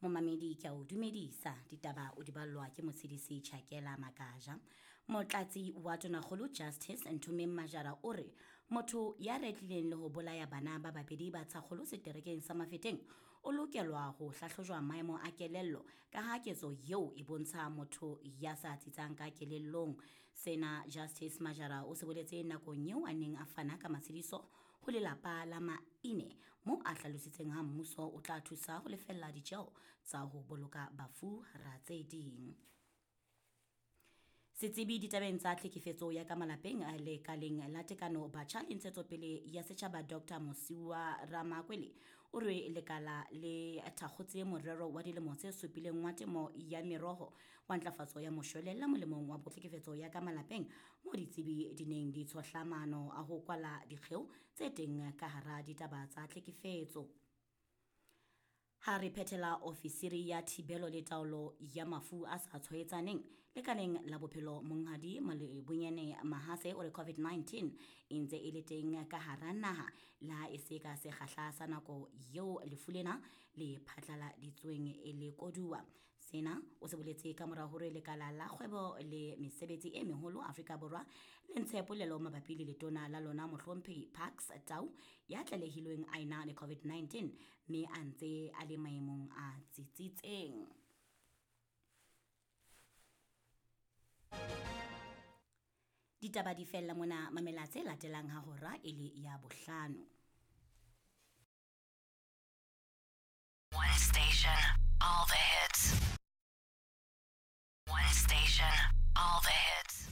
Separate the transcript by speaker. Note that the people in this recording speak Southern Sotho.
Speaker 1: Momamedi ke a o dumedisa ditaba o di ballwa ke motshedisi Chakela Makaja. Motlatsi wa Tonakgolo Justice Nthomeng Majara o re motho ya retlileng le ho bolaya bana ba babedi ba tshakgolo seterekeng sa Mafeteng o lokelwa ho hlahlojwa maemo a kelello ka ha ketso eo e bontsha motho ya sa tsitsang ka kelellong. Sena Justice Majara o se boletse nakong eo a neng a fana ka matshediso ho lelapa la Maine moo a hlalositseng ha mmuso o tla thusa ho lefella ditjeo tsa ho boloka bafu hara tse ding. Setsebi ditabeng tsa tlhekefetso ya ka malapeng lekaleng la tekano batjha le ntshetsopele ya setjhaba Dr. Mosiuwa Ramakwele o re lekala le thakgotse morero wa dilemo tse supileng wa temo ya meroho wa ntlafatso ya moshwelella molemong wa tlhekefetso ya ka malapeng moo ditsebi di neng di tshohla maano a ho kwala dikgeo tse teng ka hara ditaba tsa tlhekefetso. Ha re phethela ofisiri ya thibelo le taolo ya mafu a sa tshwaetsaneng lekaleng la bophelo Monghadi Malebonyane Mahase o re COVID-19 e ntse e le teng ka hara naha le ha e se ka sekgahla sa nako eo lefu lena le phatlaladitsweng e le koduwa. Sena o se boletse ka mora hore lekala la kgwebo le mesebetsi e meholo Afrika Borwa le ntshe polelo mabapi le letona la lona mohlomphehi Parks Tau ya tlalehilweng a ena le COVID-19 mme a ntse a le maemong a tsitsitseng. Ditaba di fella mona, mamela tse latelang ha hora e le ya bohlano.
Speaker 2: One station, all the hits. One station, all the hits.